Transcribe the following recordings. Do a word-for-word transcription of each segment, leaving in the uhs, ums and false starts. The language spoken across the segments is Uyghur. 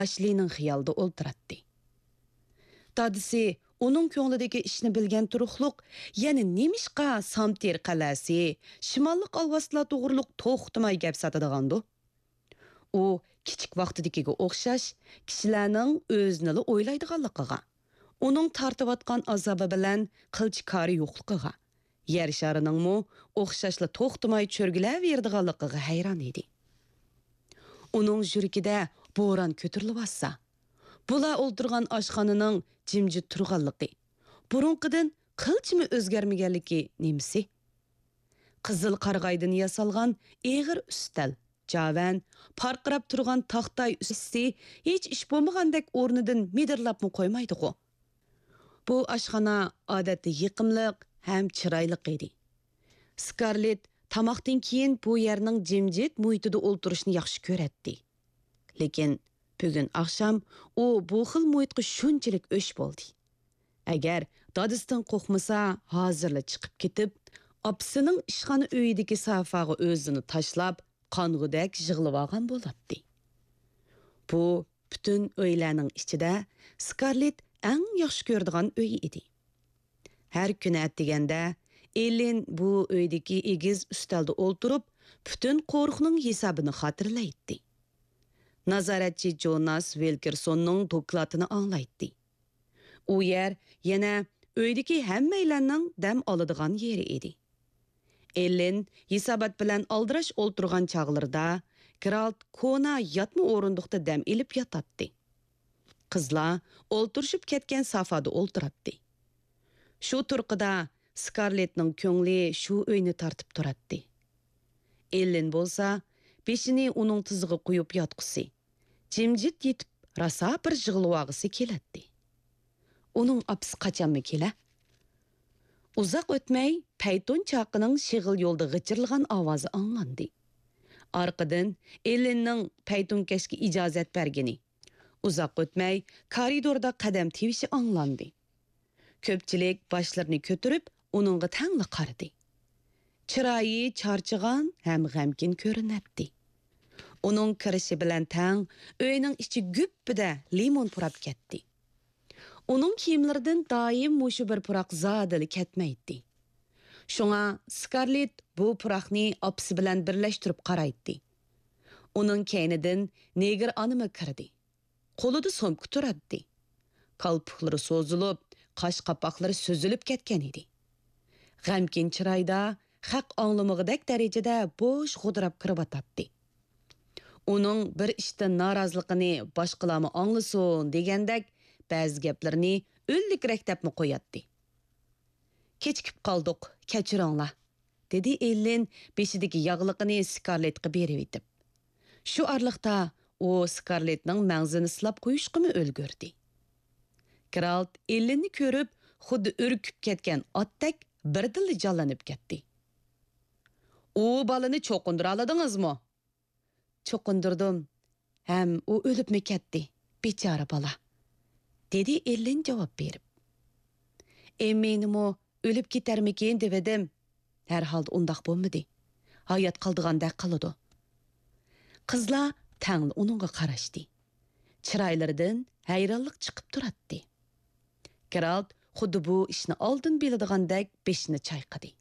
ئاشلىنىڭ خىيالىدا ئولتۇراتتى. دادىسى ئۇنىڭ كۆڭلىدىكى ئىشنى بىلگەن تۇرۇقلۇق، يەنە نېمىشقا سامتىر قەلئەسى، شىماللىق ئالۋاستىلار توغرۇلۇق توختىماي گەپ ساتىدىغاندۇ؟ ئۇ كىچىك ۋاقتىدىكىگە ئوخشاش كىشىلەرنىڭ ئۆزىنىلا ئويلايدىغانلىقىغا، ئۇنىڭ تارتىۋاتقان ئازابى بىلەن قىلچە كارى يوقلۇقىغا، يەر شارىنىڭمۇ ئوخشاشلا توختىماي چۆرگىلەۋېرىدىغانلىقىغا ھەيران ئىدى. ئۇنىڭ يۈرىكىدە بوران كۆتۈرۈلۈۋاتسا، بۇلار ئولتۇرغان ئاشخانىنىڭ جىمجىت تۇرغانلىقى، بۇرۇنقىدىن قىلچىمۇ ئۆزگەرمىگەنلىكى نېمىسى؟ قىزىل قارىغايدىن ياسالغان ئېغىر ئۈستەل، جاۋەن، پارقىراپ تۇرغان تاختاي ئۈستى ھېچ ئىش بولمىغاندەك ئورنىدىن مىدىرلاپمۇ قويمايدىغۇ؟ بۇ ئاشخانا ئادەتتە يېقىملىق ھەم چىرايلىق ئىدى. سكارلېت تاماقتىن كېيىن بۇ يەرنىڭ جىمجىت مۇھىتىدا ئولتۇرۇشنى ياخشى كۆرەتتى. لېكىن بۈگۈن ئاخشام ئۇ بۇ خىل مۇھىتقا شۇنچىلىك ئۆچ بولدى. ئەگەر دادىسىدىن قورقمىسا، ھازىرلا چىقىپ كېتىپ، ئاپىسىنىڭ ئىشخانا ئۆيىدىكى سافاغا ئۆزىنى تاشلاپ، قانغۇدەك يىغلىۋالغان بولاتتى. بۇ پۈتۈن ئۆيلەرنىڭ ئىچىدە سكارلېت ئەڭ ياخشى كۆرىدىغان ئۆي ئىدى. ھەر كۈنى ئەتىگەندە ئېللېن بۇ ئۆيدىكى ئېگىز ئۈستەلدە ئولتۇرۇپ، پۈتۈن قورۇقنىڭ ھېسابىنى خاتىرىلەيتتى. نازارەتچى جوناس ۋىلكېرسوننىڭ دوكلاتىنى ئاڭلايتتى. ئۇ يەر يەنە ئۆيدىكى ھەممەيلەننىڭ دەم ئالىدىغان يېرى ئىدى. ئېللېن ھېسابات بىلەن ئالدىراش ئولتۇرغان چاغلىرىدا، گېرالت كونا ياتما ئورۇندۇقتا دەم ئېلىپ ياتاتتى. قىزلار ئولتۇرۇشۇپ كەتكەن سافادا ئولتۇراتتى. شۇ تۇرقىدا سكارلېتنىڭ كۆڭلى شۇ ئۆينى تارتىپ تۇراتتى. ئېللېن بولسا بېشىنى ئۇنىڭ تىزىغا قويۇپ ياتقۇسى، جىمجىت يېتىپ راسا بىر يىغلىۋالغۇسى كېلەتتى. ئۇنىڭ ئاپىسى قاچانمۇ كېلە؟ ئۇزاق ئۆتمەي پەيتۇن چاقىنىڭ شېغىل يولدا غىچىرلىغان ئاۋازى ئاڭلاندى. ئارقىدىن ئېللېننىڭ پەيتۇنكەشكە ئىجازەت بەرگىنى، ئۇزاق ئۆتمەي كارىدوردا قەدەم تىۋىشى ئاڭلاندى. كۆپچىلىك باشلىرىنى كۆتۈرۈپ ئۇنىڭغا تەڭلا قارىدى. چىرايى چارچىغان ھەم غەمكىن كۆرۈنەتتى. ئۇنىڭ كىرىشى بىلەن تەڭ ئۆينىڭ ئىچى گۈپپىدە لىمون پۇراپ كەتتى. ئۇنىڭ كىيىملىرىدىن دائىم مۇشۇ بىر پۇراق زادىلا كەتمەيتتى. شۇڭا سكارلېت بۇ پۇراقنى ئاپىسى بىلەن بىرلەشتۈرۈپ قارايتتى. ئۇنىڭ كەينىدىن نېگىر ئانىمۇ كىردى. قولىدا سومكا تۇراتتى. كالپۇكلىرى سوزۇلۇپ، قاش قاپاقلىرى سۈزۈلۈپ كەتكەن ئىدى. غەمكىن چىرايدا، خەق ئاڭلىمىغۇدەك دەرىجىدە بوش غودراپ كىرىۋاتاتتى. ئۇنىڭ بىر ئىشتىن نارازىلىقىنى باشقىلارمۇ ئاڭلىسۇن دېگەندەك، بەزى گەپلىرىنى ئۈنلۈكرەك دەپمۇ قوياتتى. «كېچىكىپ قالدۇق، كەچۈرۈڭلار»، دېدى ئېللېن بېشىدىكى ياغلىقىنى سكارلېتقا بېرىۋېتىپ. شۇ ئارىلىقتا ئۇ سكارلېتنىڭ مەڭزىنى سىلاپ قويۇشقىمۇ ئۈلگۈردى. گېرالت ئېللېننى كۆرۈپ، خۇددى ئۈركۈپ كەتكەن ئاتتەك بىردىنلا جانلىنىپ كەتتى. «ئۇ بالىنى چوقۇندۇرالىدىڭىزمۇ؟» «چوقۇندۇردۇم ھەم ئۇ ئۆلۈپمۇ كەتتى، بىچارە بالا»، دېدى ئېللېن جاۋاب بېرىپ. «ئېممىنىمۇ ئۆلۈپ كېتەرمىكىن دېۋىدىم. ھەرھالدا ئۇنداق بولمىدى. ھايات قالىدىغاندەك قىلىدۇ.» قىزلار تەڭلا ئۇنىڭغا قاراشتى. چىرايلىرىدىن ھەيرانلىق چىقىپ تۇراتتى. گېرالت خۇددى بۇ ئىشنى ئالدىن بىلىدىغاندەك بېشىنى چايقىدى.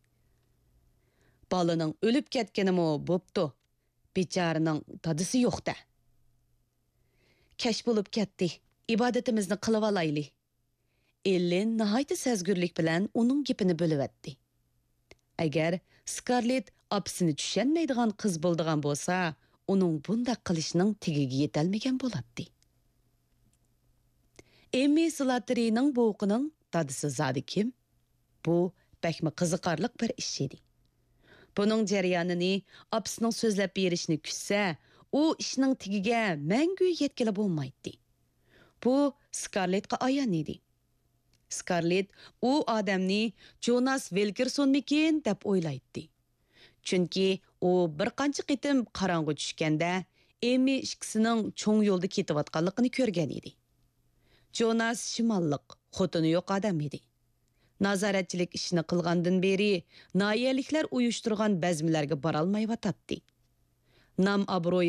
«بالىنىڭ ئۆلۈپ كەتكىنىمۇ بوپتۇ، بىچارىنىڭ دادىسى يوق-دە. كەچ بولۇپ كەتتى، ئىبادىتىمىزنى قىلىۋالايلى.» ئېللېن ناھايىتى سەزگۈرلۈك بىلەن ئۇنىڭ گېپىنى بۆلۈۋەتتى. ئەگەر سكارلېت ئاپىسىنى چۈشەنمەيدىغان قىز بولىدىغان بولسا، ئۇنىڭ بۇنداق قىلىشىنىڭ تېگىگە يېتەلمىگەن بولاتتى. «ئېممى سلاتېرىنىڭ بوۋىقىنىڭ دادىسى زادى كىم؟» بۇ بەكمۇ قىزىقارلىق بىر ئىش ئىدى. بۇنىڭ جەريانىنى ئاپىسىنىڭ سۆزلەپ بېرىشىنى كۈتسە، ئۇ ئىشنىڭ تېگىگە مەڭگۈ يەتكىلى بولمايتتى. بۇ سكارلېتقا ئايان ئىدى. سكارلېت ئۇ ئادەمنى جوناس ۋىلكېرسونمىكىن دەپ ئويلايتتى. چۈنكى ئۇ بىر قانچە قېتىم قاراڭغۇ چۈشكەندە، ئېممى ئىككىسىنىڭ چوڭ يولدا كېتىۋاتقانلىقىنى كۆرگەن ئىدى. جوناس شىماللىق، خوتۇنى يوق ئادەم ئىدى. نازارەتچىلىك ئىشىنى قىلغاندىن بېرى، ناھىيەلىكلەر ئۇيۇشتۇرغان بەزمىلەرگە بارالمايۋاتاتتى. نام-ئابرۇيى